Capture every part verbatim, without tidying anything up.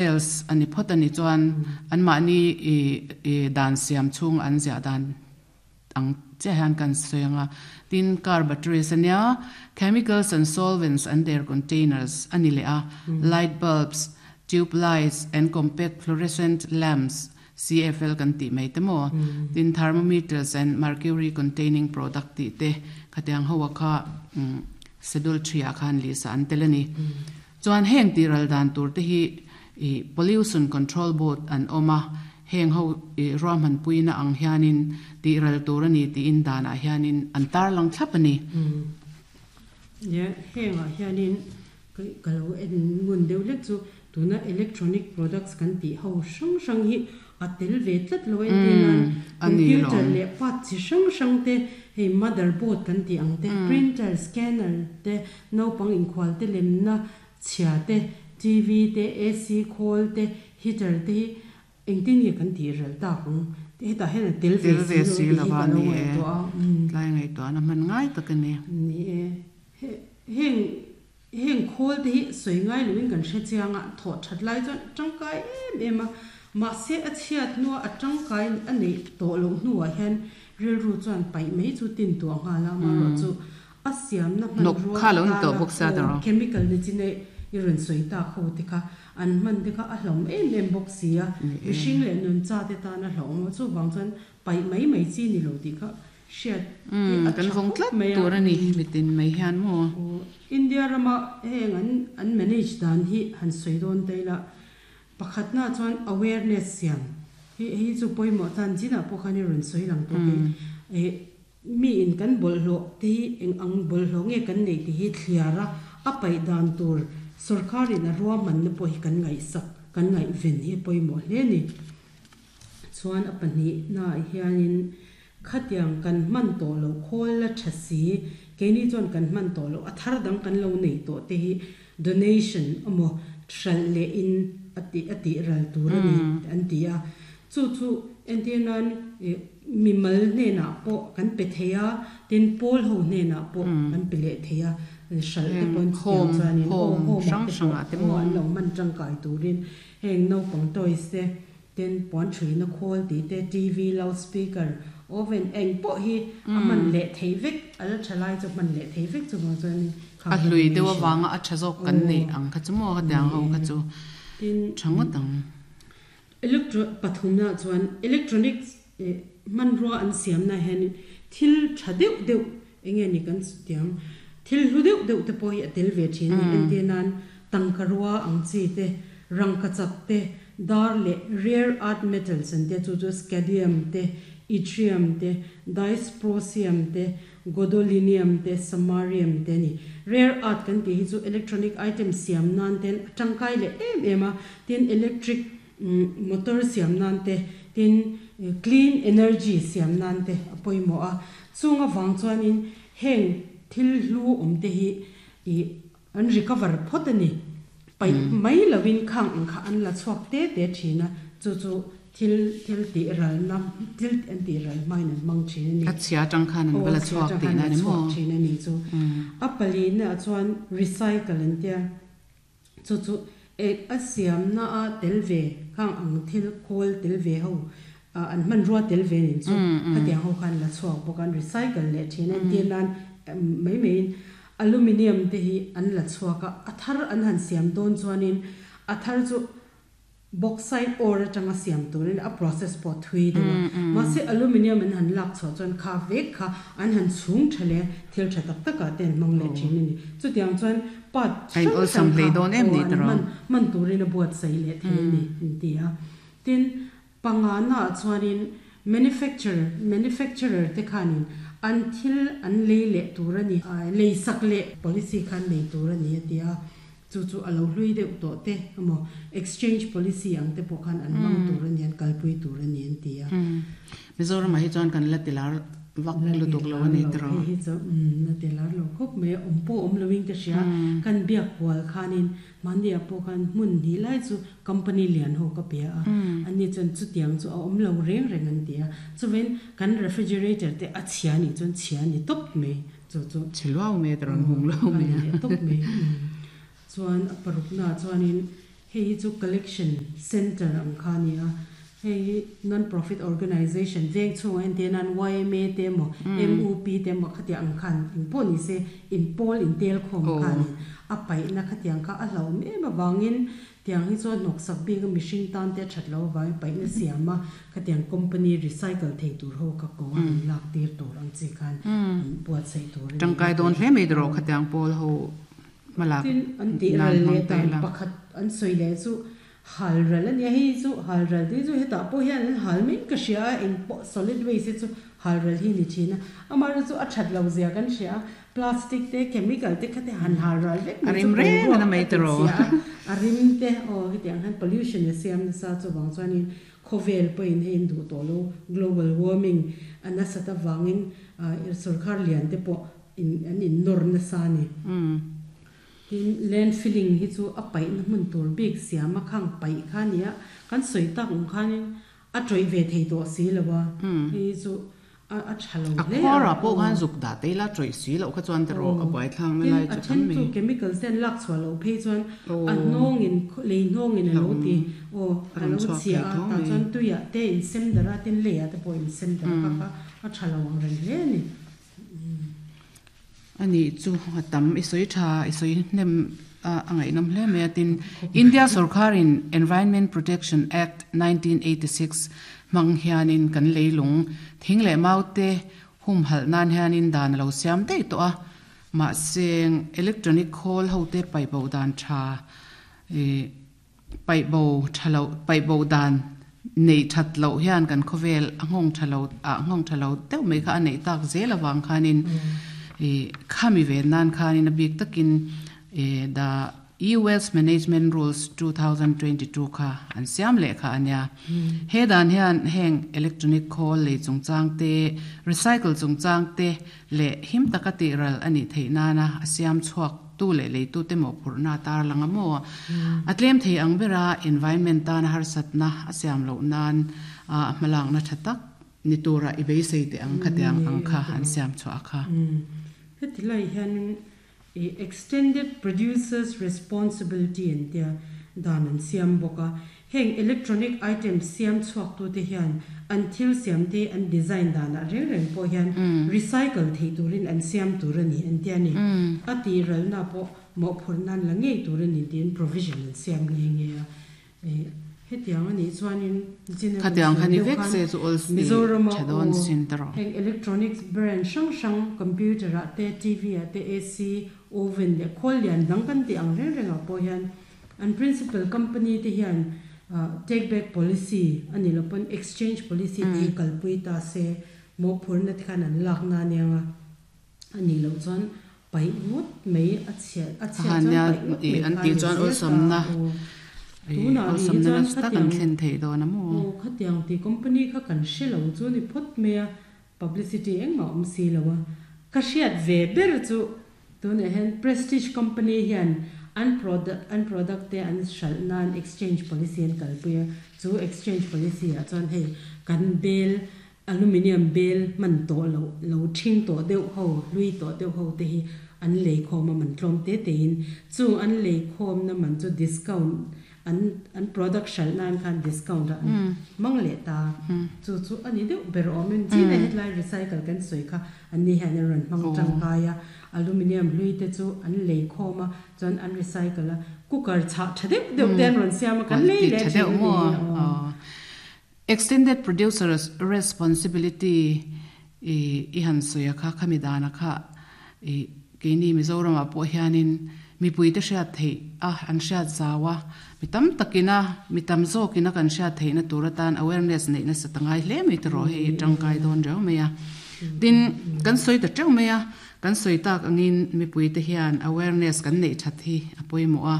Else ani phawt ani chuan anmahni i i dan siam chhung an ziah dan ang chiah hian kan sawi ang a, tin car batteries ania, chemicals and solvents and their containers a ni leh a, light bulbs, tube lights and compact fluorescent lamps, C F L kan tih mai te maw, tin thermometers and mercury containing product tih te khatiang ho a kha schedule three ah khan lisa an tel a ni. Chuan heng tih ral dan tur te hi ih Pollution Control Board an awm a, heng ho ih ruahman puina ang hianin tih ral tur a ni tiin danah hianin an tarlang thlap a ni. Ye, hengah hianin ka lo en ngun deuh hlek chu tuna electronic products kan tih ho hrang hrang hi a tel ve tlat lo a entir nan computer leh part chi hrang hrang te hei motherboard kan tih ang te, printer, scanner te, naupang inkhual te lemna chhia te, T V te, A C khawl te, heater te hi engtin nge kan tih ral tak ang? Hetah hian a tel ve Tel ve si si lo tih lo hi a ka lo ni e. ngaihtuah a. Umm. Tlai ngaihtuahna hman ngai tak a ni. Ni e. He, heng, heng khawl te hi sawi ngai loin kan hre chiang a, thawh that lai chuan tangkai em em a. Mahse a chhiat hnua a tangkai a neih tawh loh hnuah hian rilru chuan paih mai chu tin tuah nghal a, amaherawh chu a siamna Hnawk hmanrua kha lo ni tawh atana bawk sia aw tawrh. chemical ni chi neih i rawn sawi tak ho te kha an hman te kha a hlawm em em bawk si a, Ni e. mihring leh nuncha te tan a hlawm a, chuvang chuan paih mai mai chi ni lo tih kha hriat hi Umm a kan tha vawng khawp tlat mai a. tur a ni mitin mai hian maw. Aw India rama heng an an manage dan hi han sawi dawn ta ila pakhatna chuan awareness siam hi hei chu pawimawh tan chinah pawh khan i rawn sawi lang tawh kei eh Mi in kan bawlhhlawh te hi eng ang bawlhhlawh nge kan neih tih hi thliar a, a paih dan tur sawrkharin a ruahmanna pawh hi kan ngaihsak, kan ngaihven hi a pawimawh hle a ni. Chuan a pahnihnaah hianin khatiang kan hman tawh loh khawl la tha si, keini chuan kan hman tawh loh a thar dang kan lo neih tawh te hi donation emaw hralh leh in a tih a tih ral tur a ni an ti a. Chu chu entir nan mimal hnenah pawh kan pe thei a, tin pawl ho hnenah pawh kan pe leh thei a, hralh te Heng pawhin chutiang home chuanin aw home home ah hrang te hrang pawh ah te aw maw? an lo hman tangkai turin heng naupang toys te, tin puan thuina khawl tih te, T V, loudspeaker, oven eng pawh hi a hman leh thei vek, a la tha lai chu hman leh thei vek chuvang chuanin kha A hlui deuh donation avanga a tha zawk kan aw neih ang kha chu maw ni khatiang ho e kha chu tin tha ngawt ang. Electro pathumna chuan electronics hmanrua an siamna hian thil tha deuh deuh eng nge ni kan tiang thil hlu deuh deuh te pawh hi a tel ve thin a ni. Entir nan tangkarua ang chi te, rangkachak te, dar leh rare earth metals an tia chu chu scandium te, yttrium te, dysprosium te, gadolinium te, samarium te a ni. Rare earth kan tih hi chu electronic item siam nan ten a tangkai leh em em a, tin electric motor siam nan te, tin clean energy siam nan te a pawimawh a. Chung avang chuanin heng thil hlu awm te hi ih an recover phawt a ni. Paih mai lovin khang ang kha an la chhuak te te thin a, chu chu thil thil tih ralna thil an tih ral hmain an hmang thin a ni. A chhia atang khan an Aw va a la chhia chhuak atang tih khan na an a la ni chhuak maw? thin a ni chu. A palina ah chuan recycle an tia, chu chu ek a siamna a tel ve khang ang thil khawl tel ve ho an hmanrua tel ve nen chu khatiang ho khan la chhuak bawk a, an recycle leh thin a, entir nan mai maiin aluminium te hi an la chhuak a, a thar an han siam dawn chuanin a thar chu bauxite ore atanga siam turin a process pawh thui deuh a, mahse aluminium an han lak chhuah chuan kha vek kha an han chhung tha leh thil tha tak takah te an hmang leh thin a ni. Chutiang chuan part A in hrang awlsam hrang hlei kha dawn em aw ni an tiraw? hman hman turin a buatsaih leh thei a ni an ti a. Tin, pangana ah chuanin manufacturer manufacturer te khanin an thil an lei leh tur a ni, lei sak leh policy khan nei tur a ni a ti a. Chu chu a lo hlui deuh tawh te emaw exchange policy ang te pawh khan an hmang tur a ni, an kalpui tur a ni an ti a. Mizoram ah hi chuan kan la ti lar vak La ti lutuk lo lar a ni lo tiraw? hei hi chu umm la ti lar lo khawp mai a, awm pawh awm loin ka hria. Kan biak kual khanin mahni ah pawh khan hmun hnih lai chu company lian ho ka pe a, anni chuan chutiang chu a awm lo reng reng an ti a. Chuvein kan refrigerator te a chhia nih chuan chhia a ni tawp mai. Chu chu Chhe luau mai a tirawn hung luau a mai ni a. leh tawp mai. Chuan a paruknaah chuanin Hei hi chu collection center ang kha a ni a, hei hi non profit organization veng chhungah entir nan Y M A te emaw M U P te emaw khatiang ang khan engpawh ni se inpawl intel khawm khanin a paihna khatiang kha a hlauhawm em avangin tiang hi chuan hnawksak bik a mihring tan te a that loh avangin paihna siam a khatiang company recycle thei tur ho kha ko a rawn lak tir tur ang chi khan an buatsaih tur a ni. Tangkai dawn hle mai erawh khatiang pawl ho hmalak Tin an tih nan ral hmang leh ta dan ila. Pakhat an sawi leh chu hal ral a nia. Hei chu hal ral te chu hetah pawh hian an hal mai ka hria a, eng pawh solid waste hi chu hal ral hi ni thin a, amaherawhchu chu a that lo zia kan hria a, plastic te chemical te kha te han hal ral vek A mai chu rim reng boruak ana mai a ti tiraw. Chhia a, a rim te aw hetiang hian pollution a siam nasa. Chuwang chuanin khawvel pawhin hei an duh tawh lo, global warming a nasat avangin sarkar lian te pawh in an in nawr nasa ni. Tin landfilling hi chu a paih na hmun tur bik siam a khang paih kha nia, kan sawi tak ang khanin a tawih ve thei tawh si lo a, hei chu a a tha lo A hle a. Khawra pawh khan zuk dah te ila tawih si loh kha chuan tiraw a buai thlang na Tin lai a chu then tam chu mai. Chemicals ten lak chhuah loh phei chuan a Aw. hnawngin lei hnawngin a lo ti aw A a rawn lo chhuak chhia thei a tho tah mai. Chuan tuiah te in sem dara tin leiah te pawh in sem dara kha kha a tha lo ang reng hle ani. Ani chu a tam i sawi tha i sawi hnem a angaih nawm hle mai a. Tin India sarkarin Environment Protection Act nineteen eighty-six hmang hianin kan leilung thing leh mau te hum hal nan hianin dan lo siam dei to a, ma seng electronic khawl ho te pai bo dan tha e pai bo thalo pai bo dan nei that lo hian kan khovel a ngong thalo a ngong thalo deuh mai kha a nei tak zel awang khanin e khami ve nan khanin a bik takin e the E Waste Management Rules twenty twenty-two kha an siam le kha ania. He dan hian heng electronic khawl lei chungchang te, recycle chungchang te le him taka ti ral ani theina na a siam chuak tu le lei tu te mo phurna tar langa mo atlem thei ang bera environment tan har satna a siam lo nan a hmalang na thatak ni tura i beisei te ang khatiang ang kha an siam chu akha. Heti lai hian e extended producers responsibility an tia dan an siam bawk a. Heng electronic item siam chhuak tu te hian an thil siam te an design dana reng reng pawh hian recycle thei turin an siam tur ani an tia ni. A ti ral na pawh mawh phur nan la ngei tur ani tin provision an siam nge nge a. E hetiang ani chuanin khatiang khani vek se chu ol Mizoram thadon sin taro. Heng electronics brand hrang hrang, computer a te, T V a te, A C, oven le khawl lian dang kan ti ang reng reng ah pawh hian an principal company te hian take back policy ani lo pawn exchange policy te kalpui ta se, mawh phurna te khan an lak na anianga, ani lo chuan paih ngawt mai a chhia a chhia chuan hania paih ngawt i mai an kha ti ni chuan zel ol ta samna aw i tuna ol ri samna chuan na tak an khatiang thlen thei dawn amu. Aw, khatiang ti company kha kan hrelo chu ni phawt mai a, publicity engmah awm si lo a. Ka hriat ve ber chu tunah hian Prestige company hian an product an product te an hralh nan exchange policy an kalpui a. Chu exchange policy ah chuan hei kan bel aluminium bel man tawh lo lo thing tawh deuh ho, hlui tawh deuh ho te hi an lei khawm a, man tlawm te te in. Chu an lei khawm na man chu discount an an product hralh nan khan discount a an mang leh ta. Chu chu ani deuh ber awmin china hetlai recycle kan sawi kha an ni hian an rawn hmang tangkai a. Aluminium hlui te chu an lei khawm a, chuan an recycle a, cooker chah tha deuh deuh te an rawn siam a, kan lei Quality le tha thin deuh ani mo. Aw. Extended producers responsibility i i han soya kha khami dana kha i keini Mizoram a pawh hianin mipui te hriat thei a, an hriat zawa mi tam takina mi tam zawkina kan hriat theihna tur atan awareness neihna satangai hle mai tiro. Hei tangkai dawn reuh mai a. Tin kan sawi ta teuh mai a, kan sawi tak angin mipui te hian awareness kan neih that hi a pawimawh a.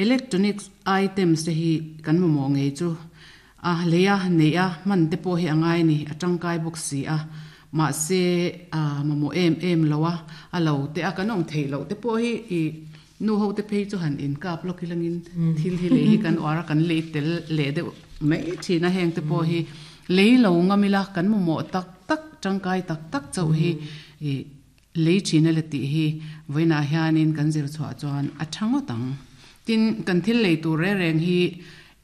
Electronics items te hi kan mamawh ngei chu a leia nei a, man te pawh hi angai ni, a tangkai bawk si a, ma se a mamawh em em lo a, a lo te a kan awm thei lo te pawh hi i nu ho te phei chu han in kap lokilangin thil hi lei hi kan uara kan lei tel le deuh mai thina. Heng te pawh hi lei lo ngamila, kan mamawh tak tak, tangkai tak tak chauh hi i lei thina le ti hi voina hianin kan zir chhuah chuan a thangawt ang. Tin kan thil lei tur re reng hi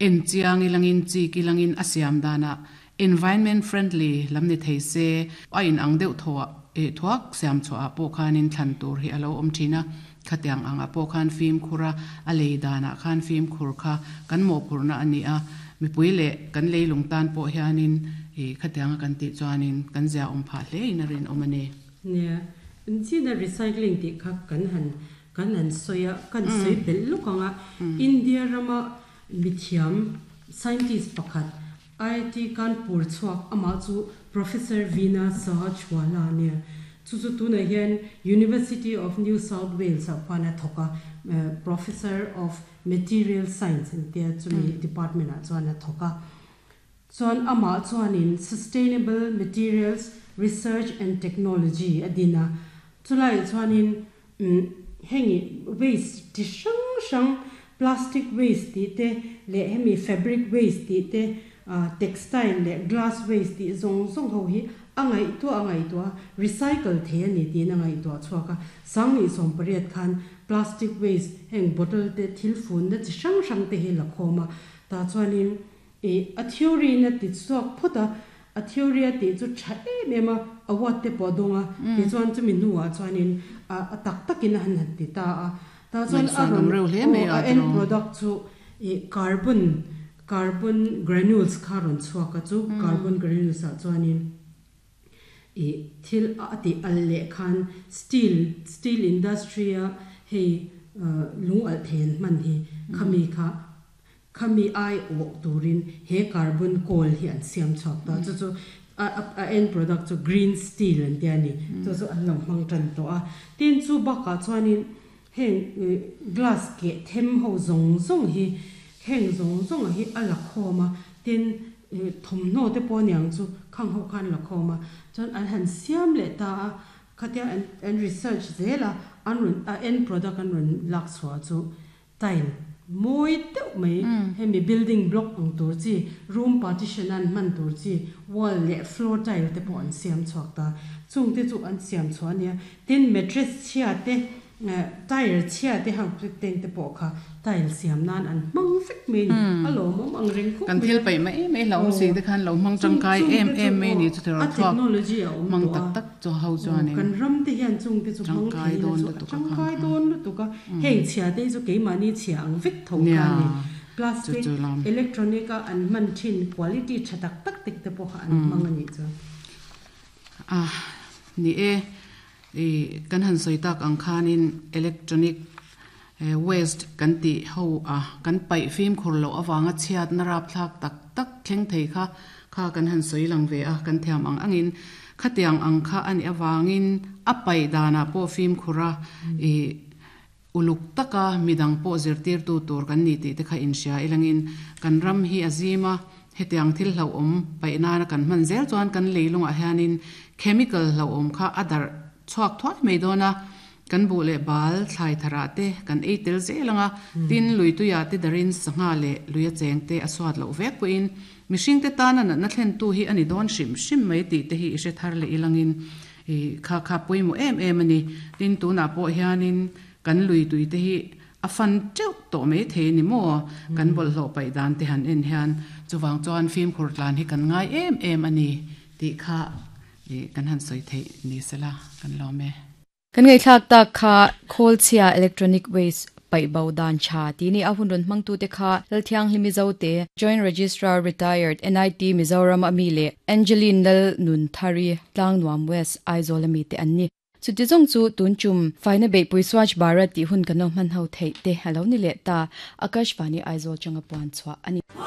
en chiang ilangin chi kilangin a siam dana environment friendly lam ni thei se a in ang deuh thaw e thuak siam chu a pawh khanin thlan tur hi alo awm thina khatiang anga pawh khan fim khura a lei dana khan fim khur kha kan mo phurna ani a mipui le kan leilung tan pawh hianin e khatianga kan ti chuanin kan zia awm pha hle in a rin awm ani. Nia china recycling ti kha kan han kan han soya kan soi bel lukanga India rama mithiam scientist pakhat I I T Kanpur chuak ama chu Professor Veena Sahajwalla nia chu chu tuna hian University of New South Wales a khwana thoka, professor of material science an tia chumi department a chuan a thoka. Chuan ama chuanin Sustainable Materials Research and Technology adina chulai chuanin hengi waste ti hrang hrang, plastic waste ti te le hemi fabric waste ti te, textile le glass waste ti zong zong ho hi angai to angai to recycle the ani ti na ngai to chuaka sangni som pariat khan plastic waste heng bottle te thil fun na chi hrang hrang te hi la khoma ta chuanin e a theory na ti chuak phota a theory a ti chu tha em em a award te podonga ti chuan chumi nuwa chuanin a tak takin han han ti ta a ta chuan a ron reu hle mai a end product chu e carbon carbon granules kha ron chuaka chu carbon granules a chuanin e thil a ti al le khan steel steel industry a hei lung al then man hi khami kha khami ai o turin he carbon coal hi an siam chhak ta chu chu a end product chu green steel an tia ni chu chu an lo mang tan to a. Tin chu baka chuanin heng glass ke them ho zong zong hi heng zong zong hi ala khoma tin thomno te pawh niang chu khang ho khan la khoma chuan an han siam le ta a khatia an an research zela an run a end product an run lak chhuah chu tile moi deuh mai hemi building block ang tur chi room partition an man tur chi wall le floor tile te pawh an siam chhuak ta chung te chu an siam chhuah ania. Tin mattress chhia te tire chhia te hang teng te pawh kha tile siam nan an hmang vek mai ni a lawmawm ang reng khawp kan thil pai mai mai lo si te khan lo hmang tangkai em em mai ni chu thero a technology a awm mang tak tak chu ho chuan kan ram te hian chung te chu hmang thei don chu tangkai don lutuka heng chhia te chu keimahni chhia ang vek tho kha ni plastic electronic a an man thin quality tha tak tak tek te pawh an hmang ani chu a ni e e kan han soi tak ang khanin electronic waste kan ti ho a kan pai fim khur lo awanga chhiat na rap thlak tak tak thleng thei kha kha kan han soi lang ve a kan thiam ang angin khatiang ang kha ani awangin a pai dana po fim khura e uluk taka midang po zirtir tu tur kan ni ti te kha in sia ilangin kan ram hi azima hetiang thil hlo om pai na kan man zel chuan kan leilunga hianin chemical hlo om kha adar chuak thuai mai dona kan bu le bal thlai thara te kan eitel zelanga tin lui tu ya te darin sanga le luya cheng te aswat lo vek puin mihring te tana na na thlen tu hi ani don shim shim mai ti te hi ise thar le ilangin e kha kha pui mu em em ani. Tin tu na po hianin kan lui tui te hi afan cheu to mai the ni mo kan bol hlo pai dan te han en hian chuwang chuan phim khur tlan hi kan ngai em em ani ti kha e kan han soi the ni sela kan lo me kan ngai thlak ta kha khol chhia electronic waste pai bau dan cha ti ni ahun ron mangtu te kha lalthiang hlimi zo te Joint Registrar Retired N I T Mizoram ami le Angeline Lal Nun Thari Tlang Nuam West Aizawl ami te anni chuti jong chu tun chum faina be pui Swachh Bharat ti hun kano man ho thei te halo ni le ta Akashvani Aizawl changa puan chwa ani.